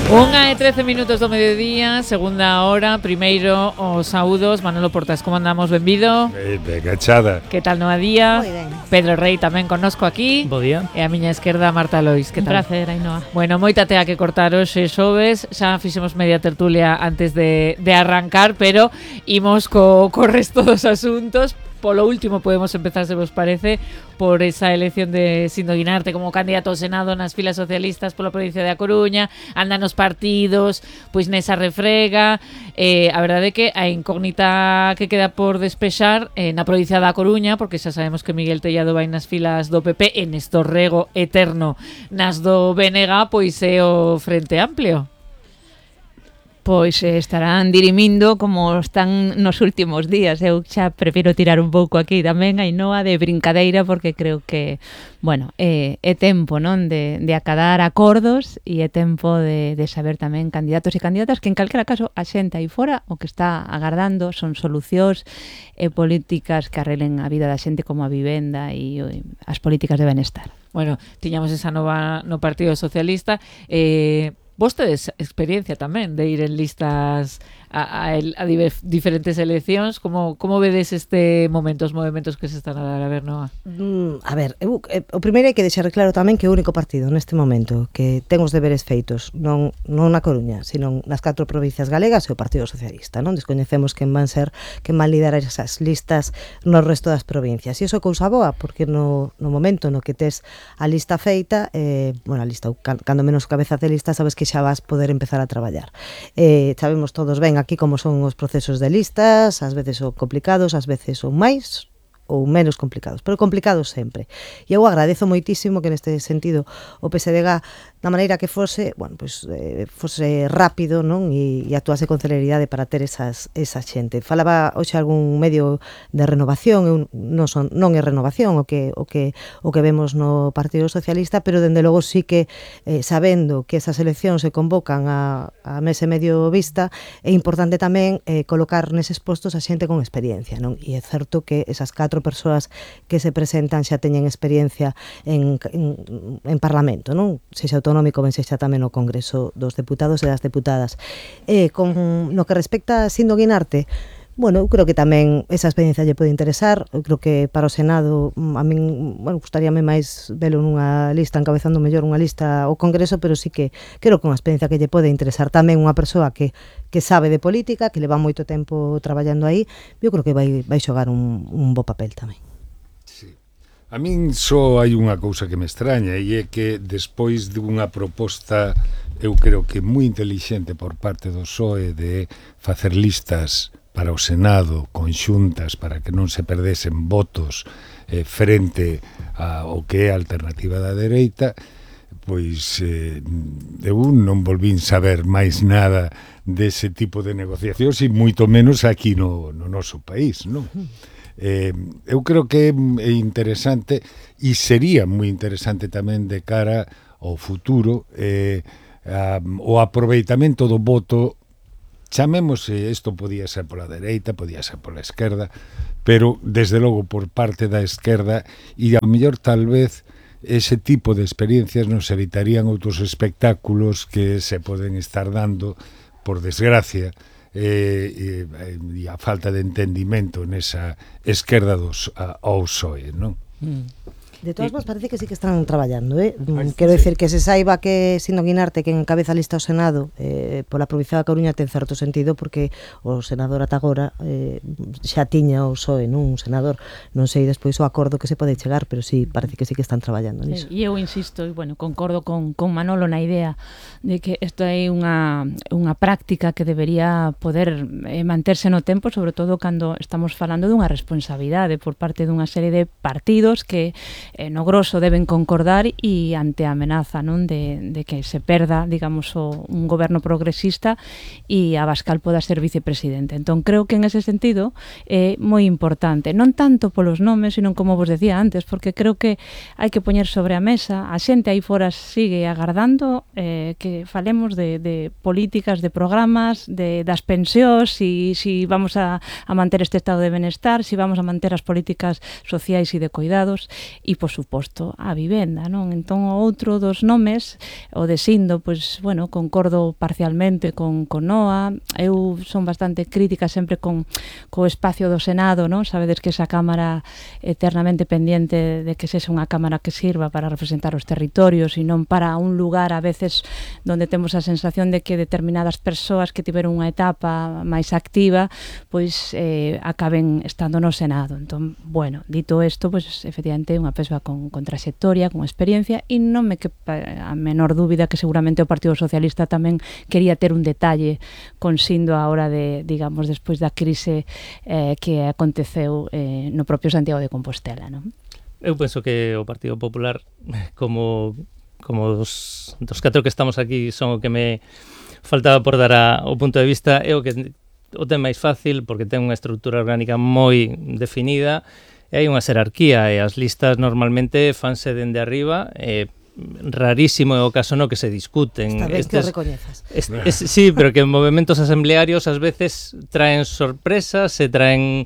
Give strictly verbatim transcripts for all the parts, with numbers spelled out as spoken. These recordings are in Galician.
Unha e trece minutos do mediodía, segunda hora. Primeiro os saúdos. Manolo Portas, como andamos? Benvido. Ben, ben achada. Que tal no día? Moi ben. Pedro Rei tamén connosco aquí. Bo día. E a miña esquerda Marta Lois. Que Un tal? placer, Ainhoa. Bueno, moita tea que cortar hoxe xoves. Xa fixemos media tertulia antes de, de arrancar, pero imos co, co resto dos asuntos. Polo último podemos empezar, se vos parece, por esa elección de Sindo Guinarte como candidato ao Senado nas filas socialistas pola provincia de A Coruña. Andan os partidos pois nesa refrega. eh, A verdade é que a incógnita que queda por despexar eh, na provincia da Coruña, porque xa sabemos que Miguel Tellado vai nas filas do P P e Néstor Rego eterno nas do B N G, pois é o Frente Amplio. Pois eh, estarán dirimindo como están nos últimos días. Eu xa prefiro tirar un pouco aquí tamén, Ainhoa, de brincadeira, porque creo que, bueno, é, é tempo, non, de, de acadar acordos e é tempo de, de saber tamén candidatos e candidatas que en calquera caso a xente aí fora o que está agardando son solucións e políticas que arreglen a vida da xente, como a vivenda e o, as políticas de benestar. Bueno, tiñamos esa nova no Partido Socialista. eh, Vos tedes experiencia tamén de ir en listas a, a, a diver, diferentes eleccións. Como, como vedes este momento, os movimentos que se están a dar? A ver, Noa. Mm, a ver, eu, eh, o primeiro hai que deixar claro tamén que é o único partido neste momento que ten os deberes feitos, non, non na Coruña, sino nas catro provincias galegas, e o Partido Socialista, non? Descoñecemos quen van ser, quen van liderar esas listas no resto das provincias. E iso é cousa boa, porque no, no momento no que tes a lista feita, eh, bueno, a lista, cando menos cabeza de lista, sabes que xa vas poder empezar a traballar. Eh, sabemos todos ben aquí como son os procesos de listas, ás veces son complicados, ás veces son máis ou menos complicados, pero complicados sempre. E eu agradezo moitísimo que neste sentido o P S D G, da maneira que fose, bueno, pues, eh, fose rápido, non? E, e actuase con celeridade para ter esas, esa xente. Falaba hoxe algún medio de renovación, eu non, son, non é renovación o que, o, que, o que vemos no Partido Socialista, pero dende logo sí que, eh, sabendo que esas eleccións se convocan a, a mes e medio vista, é importante tamén eh, colocar neses postos a xente con experiencia, non? E é certo que esas catro persoas que se presentan xa teñen experiencia en, en, en Parlamento, non? Sexa autonómico, ben sexa tamén o Congreso dos Deputados e das Deputadas. E con no que respecta a Sindo Guinarte, bueno, eu creo que tamén esa experiencia lle pode interesar. Eu creo que para o Senado a min, bueno, gustaríame máis velo nunha lista, encabezando mellor unha lista ao Congreso, pero sí que creo que unha experiencia que lle pode interesar tamén unha persoa que que sabe de política, que leva moito tempo traballando aí. Eu creo que vai vai xogar un, un bo papel tamén. Sí. A min só hai unha cousa que me extraña, e é que despois dunha proposta, eu creo que moi intelixente por parte do P S O E de facer listas para o Senado conxuntas para que non se perdesen votos eh, frente ao que é a alternativa da dereita, pois eh, eu non volvín saber máis nada dese tipo de negociacións, e moito menos aquí no, no noso país, non? Eh, eu creo que é interesante, e sería moi interesante tamén de cara ao futuro, eh, a, o aproveitamento do voto. Chamémosse, isto podía ser pola dereita, podía ser pola esquerda, pero desde logo por parte da esquerda, e ao mellor tal vez ese tipo de experiencias nos evitarían outros espectáculos que se poden estar dando, por desgracia, eh, e, e a falta de entendimento nesa esquerda dos, a, ao P S O E, non? Mm. De todas formas, parece que sí que están traballando, eh? Quero decir que se saiba que Sindo Guinarte, que encabeza a lista ao Senado eh, pola provincia da Coruña, ten certo sentido, porque o senador ata agora eh, xa tiña o P S O E, non? Un senador, non sei despois o acordo que se pode chegar, pero sí, parece que sí que están traballando niso. E eu insisto, e bueno, concordo con, con Manolo na idea de que isto é unha, unha práctica que debería poder eh, manterse no tempo, sobre todo cando estamos falando dunha responsabilidade por parte dunha serie de partidos que eh, no grosso deben concordar, e ante a amenaza, non, de, de que se perda, digamos, o, un goberno progresista e Abascal poda ser vicepresidente. Entón, creo que en ese sentido é moi importante, non tanto polos nomes, sino como vos decía antes, porque creo que hai que poñer sobre a mesa, a xente aí fora sigue agardando eh, que falemos de, de políticas, de programas, de, das pensións, si, si vamos a, a manter este estado de benestar, si vamos a manter as políticas sociais e de cuidados, e por suposto, a vivenda, non? Entón, o outro dos nomes, o de Sindo, pois, bueno, concordo parcialmente con, con Noa. Eu son bastante crítica sempre con co espacio do Senado, non? Sabedes que esa cámara eternamente pendiente de que sexa unha cámara que sirva para representar os territorios e non para un lugar a veces donde temos a sensación de que determinadas persoas que tiveron unha etapa máis activa, pois eh, acaben estando no Senado. Entón, bueno, dito isto, pois efectivamente é unha persoa con, con trayectoria, con experiencia, e non me quepa a menor dúbida que seguramente o Partido Socialista tamén quería ter un detalle con Sindo a hora de, digamos, despois da crise eh, que aconteceu eh, no propio Santiago de Compostela, non? Eu penso que o Partido Popular, como como dos, dos catro que estamos aquí, son o que me faltaba por dar a, o punto de vista, é o que o ten máis fácil, porque ten unha estrutura orgánica moi definida, e hai unha xerarquía, e as listas normalmente fanse dende arriba, e rarísimo é o caso no que se discuten. Esta vez Estes, que o recoñezas. Es, es, sí, pero que en movimentos asamblearios ás veces traen sorpresas, se traen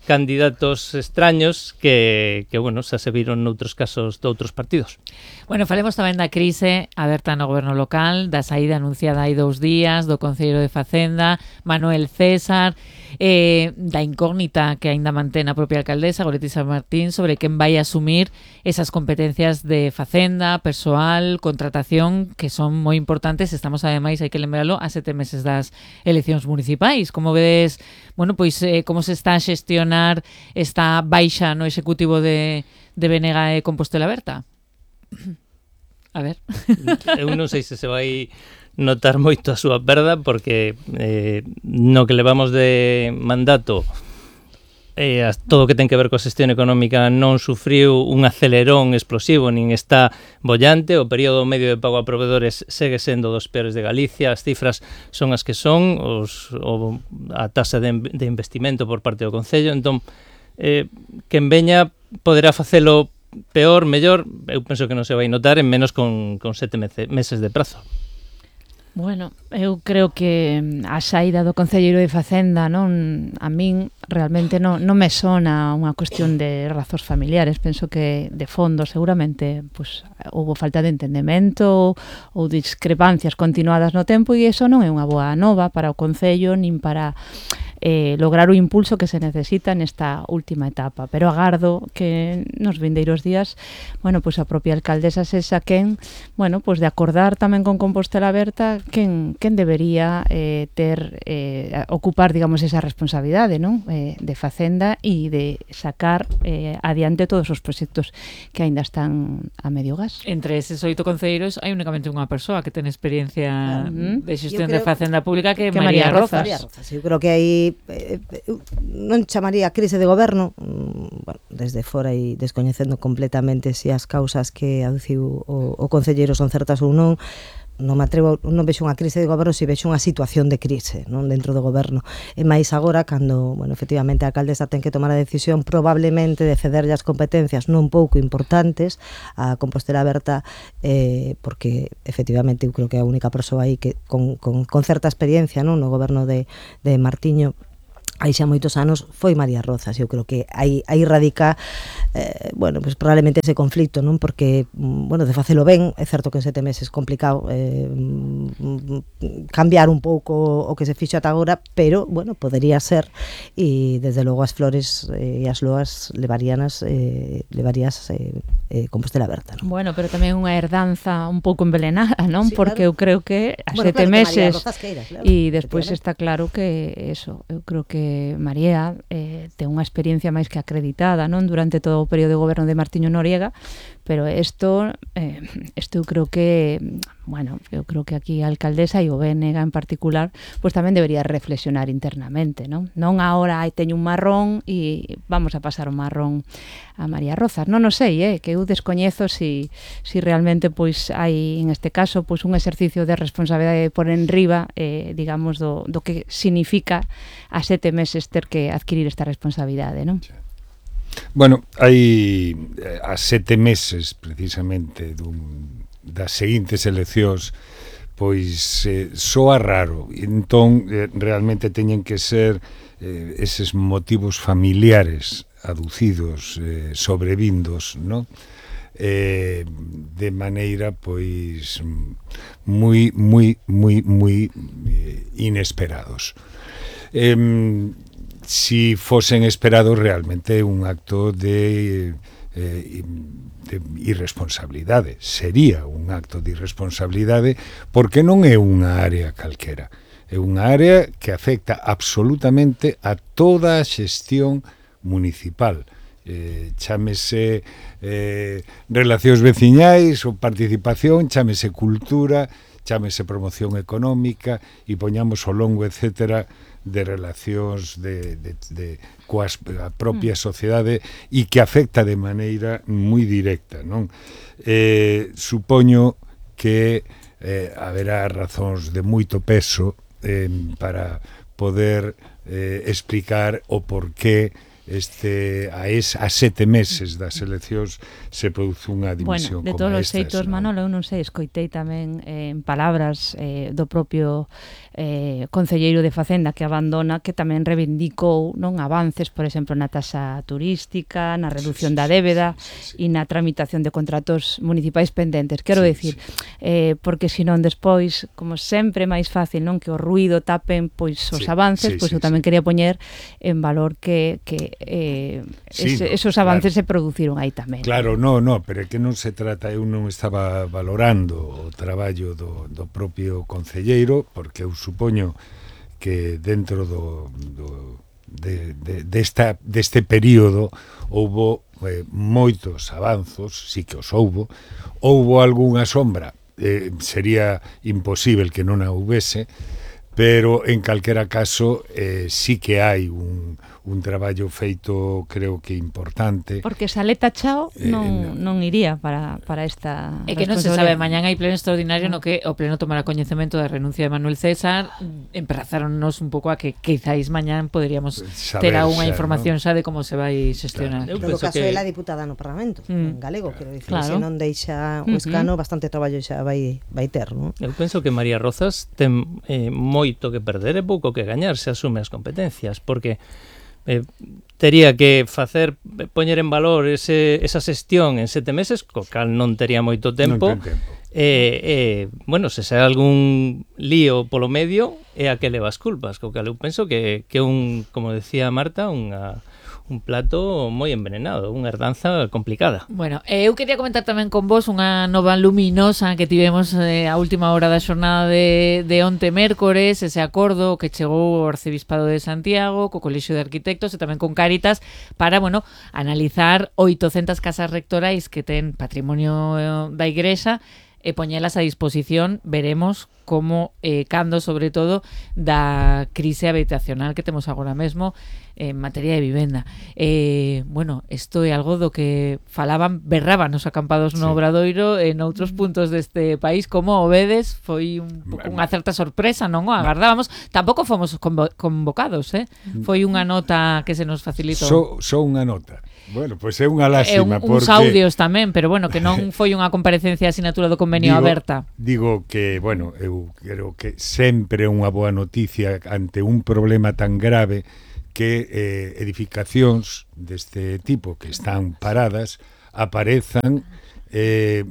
candidatos extraños que, que bueno, xa se viron noutros casos de outros partidos. Bueno, falemos tamén da crise aberta no goberno local, da saída anunciada hai dous días do Concelleiro de Facenda, Manuel César, eh, da incógnita que aínda mantén a propia alcaldesa, Goretti San Martín, sobre quen vai asumir esas competencias de Facenda, persoal, contratación, que son moi importantes. Estamos, ademais, hai que lembralo, a sete meses das eleccións municipais. Como vedes, bueno, pois eh, como se está a xestionar esta baixa no executivo de, de Benega e Compostela Aberta? A ver. Eu non sei se se vai notar moito a súa perda, porque eh, no que levamos de mandato, eh, todo o que ten que ver coa xestión económica non sufriu un acelerón explosivo, nin está bollante. O período medio de pago a proveedores segue sendo dos peores de Galicia, as cifras son as que son, os, o, a taxa de, de investimento por parte do Concello. Entón, eh, quen veña poderá facelo peor, mellor. Eu penso que non se vai notar, en menos con, con sete meses de prazo. Bueno, eu creo que a saída do Concelleiro de Facenda, non, a min realmente non, non me sona unha cuestión de razóns familiares. Penso que de fondo seguramente pues, houve falta de entendemento ou discrepancias continuadas no tempo, e iso non é unha boa nova para o Concello nin para eh, lograr o impulso que se necesita nesta última etapa. Pero agardo que nos vindeiros días, bueno, pues a propia alcaldesa sexa quen, bueno, pues de acordar tamén con Compostela Aberta quen, quen debería eh, ter eh, ocupar, digamos, esa responsabilidade, non? Eh, de Facenda e de sacar eh, adiante todos os proxectos que aínda están a medio gas. Entre eses oito concelleiros hai únicamente unha persoa que ten experiencia uh-huh. de xestión creo, de Facenda Pública, que é que María, María Rozas. María Rozas. Eu creo que aí eh, non chamaría crise de goberno, bueno, desde fora e descoñecendo completamente se as causas que aduciu o, o concelleiro son certas ou non. Non me atrevo, non vexo unha crise de goberno, se vexo unha situación de crise, non, dentro do goberno. E máis agora, cando, bueno, efectivamente a alcaldesa ten que tomar a decisión probablemente de cederlle as competencias non pouco importantes a Compostela Aberta, eh, porque efectivamente eu creo que é a única persoa aí que con, con, con certa experiencia, non, no goberno de, de Martiño hai xa moitos anos, foi María Rozas. Eu creo que aí, aí radica eh, bueno, pues probablemente ese conflicto, non? Porque, bueno, de facelo ben, é certo que en sete meses complicado eh, cambiar un pouco o que se fixo ata agora, pero, bueno, podería ser, e desde logo as flores e eh, as loas levaríanas eh, levarías eh, eh, Compostela Aberta, non? Bueno, pero tamén unha herdanza un pouco envenenada, non? Sí, porque claro. eu creo que a Bueno, sete claro, meses queira, claro, e despois está claro que eso, eu creo que María eh, ten unha experiencia máis que acreditada, non, durante todo o período de goberno de Martiño Noriega, pero isto eh, isto eu creo que, bueno, eu creo que aquí a alcaldesa e o B N G en particular, pois pues tamén debería reflexionar internamente, non? Non agora hai teño un marrón e vamos a pasar o marrón a María Rozas. Non o sei, eh, que eu descoñezo si, si realmente pois hai en este caso pois un exercicio de responsabilidade por enriba, eh, digamos, do, do que significa a sete meses ter que adquirir esta responsabilidade, non? Bueno, hai a sete meses precisamente dun, das seguintes eleccións, pois eh, soa raro. Entón, eh, realmente teñen que ser eh, eses motivos familiares aducidos, eh, sobrevindos, non? eh, de maneira pois moi moi moi moi eh, inesperados. Eh, si fosen esperados realmente un acto de eh, de irresponsabilidade, sería un acto de irresponsabilidade porque non é unha área calquera, é unha área que afecta absolutamente a toda a xestión municipal, eh, chámese eh, relacións veciñais ou participación, chámese cultura, chámese promoción económica e poñamos o longo etcétera de relacións de, de, de coas a propia sociedade e que afecta de maneira moi directa, non? Eh, supoño que eh, haberá razóns de moito peso eh, para poder eh, explicar o porqué este a, es, a sete meses das eleccións se produce unha dimisión bueno, de como todos os estas, xeitos, non? Manolo, eu non sei, escoitei tamén eh, en palabras eh, do propio eh, concelleiro de Facenda que abandona, que tamén reivindicou non avances, por exemplo, na taxa turística, na reducción sí, sí, da débeda sí, sí, sí. e na tramitación de contratos municipais pendentes. Quero Sí, decir, sí. eh, porque senón despois, como sempre máis fácil, non que o ruido tapen pois os Sí, avances, sí, pois sí, eu tamén sí. quería poñer en valor que, que eh, Sí, ese, no, esos claro. avances se produciron aí tamén. Claro, no, no, pero é que non se trata, eu non estaba valorando o traballo do, do propio concelleiro, porque eu supoño que dentro do, do de, de, desta, deste período houbo eh, moitos avanzos, sí que os houbo, houbo algunha sombra, eh, sería imposible que non a houvese, pero en calquera caso eh, sí que hai un, un traballo feito, creo que importante. Porque Saleta Chao non, Eh, non iría para, para esta É que non se sabe, mañán hai pleno extraordinario no que o pleno tomará coñecemento da renuncia de Manuel César. Empezáronnos un pouco a que quizáis mañán poderíamos Saber ter algunha xa, información xa de como se vai xestionar. Claro. En todo penso caso, que- é a diputada no Parlamento, Mm. en galego, quero dicir, Claro. se non deixa o Ujú. escano, bastante traballo xa vai, vai ter, non? Eu penso que María Rozas ten eh, moito que perder e pouco que gañar se asume as competencias, porque eh, tería que facer poñer en valor ese, esa xestión en sete meses, co cal non tería moito tempo. Non ten tempo. E, eh, bueno, se sai algún lío polo medio é a que leva as culpas, co cal eu penso que que un, como decía Marta, unha un plato moi envenenado, unha herdanza complicada. Bueno, eh, eu quería comentar tamén con vos unha nova luminosa que tivemos eh, a última hora da xornada de, de onte mércores, ese acordo que chegou ao Arcebispado de Santiago, co Colexio de Arquitectos e tamén con Cáritas para, bueno, analizar oitocentas casas rectorais que ten patrimonio eh, da Igrexa e poñelas a disposición, veremos como, eh, cando, sobre todo, da crise habitacional que temos agora mesmo en materia de vivenda. Eh, bueno, isto é algo do que falaban, berraban os acampados no Sí. Obradoiro en outros puntos deste país, como o vedes, foi un pouco unha certa sorpresa, non o agardábamos, tampouco fomos convo convocados, eh? Foi unha nota que se nos facilitou. Só so unha nota. Bueno, pois é unha E un, lástima uns porque audios tamén, pero bueno, que non foi unha comparecencia de asinatura do convenio digo, aberta. Digo que, bueno, eu creo que sempre é unha boa noticia ante un problema tan grave que eh, edificacións deste tipo que están paradas aparezan eh,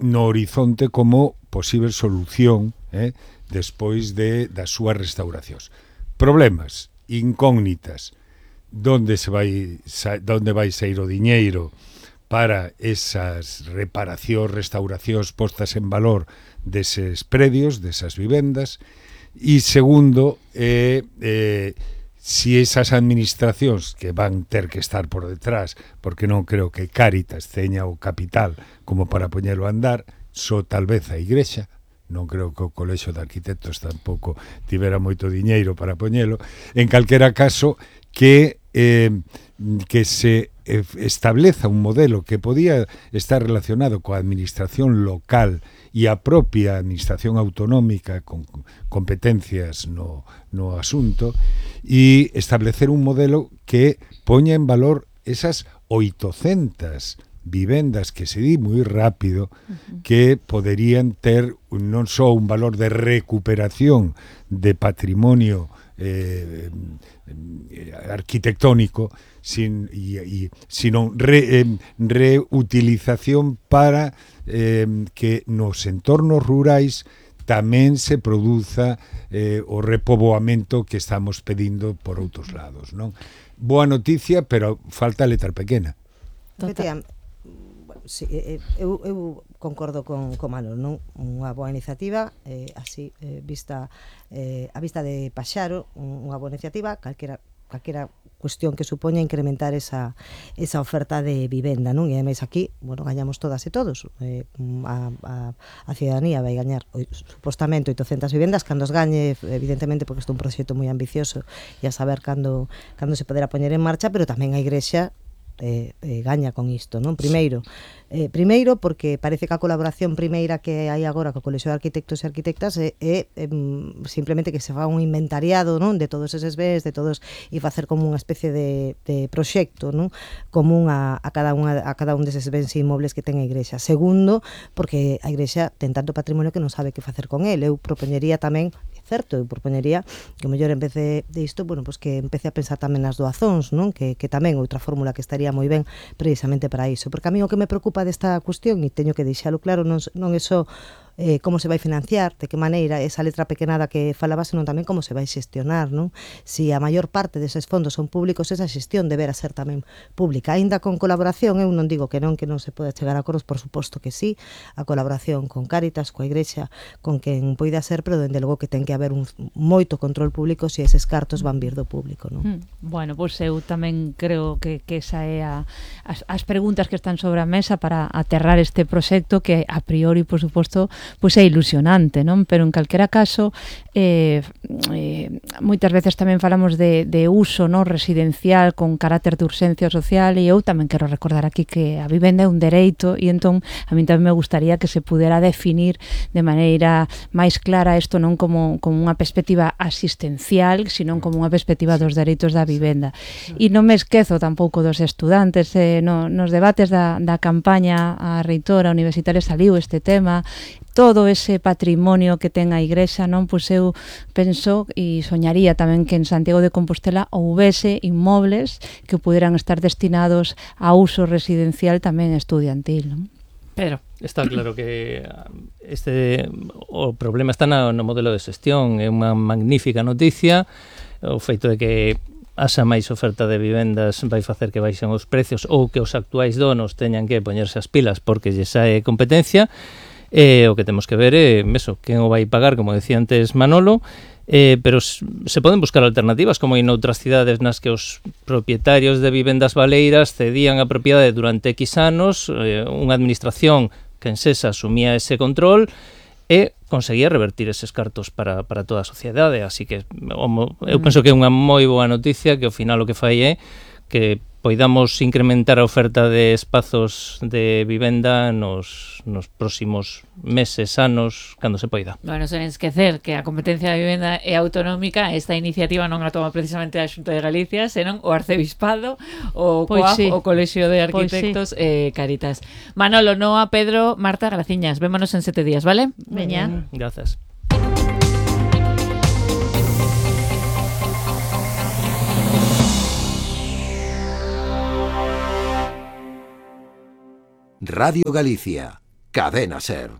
no horizonte como posible solución eh, despois de das súas restauracións. Problemas, incógnitas, donde se vai sa, donde vai sair o diñeiro para esas reparacións, restauracións postas en valor deses predios, desas vivendas, e segundo, eh, eh, si esas administracións que van ter que estar por detrás, porque non creo que Cáritas teña o capital como para poñelo a andar, só tal vez a Igrexa, non creo que o Colexio de Arquitectos tampouco tivera moito diñeiro para poñelo, en calquera caso, que eh, que se eh, estableza un modelo que podía estar relacionado coa administración local e a propia administración autonómica con competencias no, no asunto e establecer un modelo que poña en valor esas oitocentas vivendas que se di moi rápido uh-huh. que poderían ter non só un valor de recuperación de patrimonio eh, eh, arquitectónico, sin, y, y, sino re, eh, reutilización para eh, que nos entornos rurais tamén se produza eh, o repoboamento que estamos pedindo por outros lados, non? Boa noticia, pero falta a letra pequena. Efectivamente, bueno, sí, eu, eu concordo con, con Manolo, non? Unha boa iniciativa, eh, así, eh, vista eh, a vista de Paxaro, unha boa iniciativa, calquera calquera cuestión que supoña incrementar esa, esa oferta de vivenda, non? E ademais aquí, bueno, gañamos todas e todos. Eh, a, a, a ciudadanía vai gañar supostamente oitocentas vivendas, cando os gañe, evidentemente, porque isto é un proxecto moi ambicioso e a saber cando, cando se poderá poñer en marcha, pero tamén a Igrexa eh, eh, gaña con isto, non? Primeiro, eh, primeiro porque parece que a colaboración primeira que hai agora co Colexio de Arquitectos e Arquitectas é, é, é simplemente que se fa un inventariado, non? De todos eses bens, de todos, e facer como unha especie de, de proxecto, non? Común a, a cada unha a cada un deses bens inmobles que ten a Igrexa. Segundo, porque a Igrexa ten tanto patrimonio que non sabe que facer con el. Eu propoñería tamén, certo, eu propoñería que o mellor en vez de, de isto, bueno, pues que empece a pensar tamén nas doazóns, non? Que, que tamén outra fórmula que estaría moi ben precisamente para iso, porque a mí o que me preocupa desta cuestión, e teño que deixalo claro, non, non é só eh, como se vai financiar, de que maneira esa letra pequenada que falaba, senón tamén como se vai xestionar, non? Si a maior parte deses fondos son públicos, esa xestión debera ser tamén pública, aínda con colaboración. Eu non digo que non, que non se pode chegar a acordos, por suposto que sí, a colaboración con Cáritas, coa Igrexa, con quen poida ser, pero dende logo que ten que haber un moito control público se eses cartos van vir do público, non? Mm, bueno, pois eu tamén creo que, que esa é a, as, as preguntas que están sobre a mesa para aterrar este proxecto que a priori, por suposto, pois é ilusionante, non? Pero en calquera caso, eh, eh, moitas veces tamén falamos de, de uso, non, residencial con carácter de urxencia social, e eu tamén quero recordar aquí que a vivenda é un dereito, e entón a mí tamén me gustaría que se pudera definir de maneira máis clara isto non como, como unha perspectiva asistencial, sino como unha perspectiva dos dereitos da vivenda. E non me esquezo tampouco dos estudantes, eh, no, nos debates da, da campaña a reitora universitaria saliu este tema, todo ese patrimonio que ten a Igrexa, non? Pois eu penso e soñaría tamén que en Santiago de Compostela houvese inmobles que puderan estar destinados a uso residencial tamén estudiantil, non? Pedro. Está claro que este o problema está no, no modelo de xestión. É unha magnífica noticia o feito de que haxa máis oferta de vivendas vai facer que baixen os precios, ou que os actuais donos teñan que poñerse as pilas porque lle sae competencia. Eh, o que temos que ver é eso, quen o vai pagar, como decía antes Manolo, eh, pero se poden buscar alternativas, como en outras cidades nas que os propietarios de vivendas baleiras cedían a propiedade durante X anos, eh, unha administración que en Sesa asumía ese control e conseguía revertir eses cartos para, para toda a sociedade, así que eu penso que é unha moi boa noticia, que ao final o que fai é que poidamos incrementar a oferta de espazos de vivenda nos, nos próximos meses, anos, cando se poida. Bueno, sen esquecer que a competencia de vivenda é autonómica. Esta iniciativa non a toma precisamente a Xunta de Galicia, senón o Arcebispado, o Pois COAF, sí. o Colexio de Arquitectos, pois sí. eh, Cáritas. Manolo, Noa, Pedro, Marta, graciñas. Vémonos en sete días, vale? Veña. Grazas. Radio Galicia, Cadena Ser.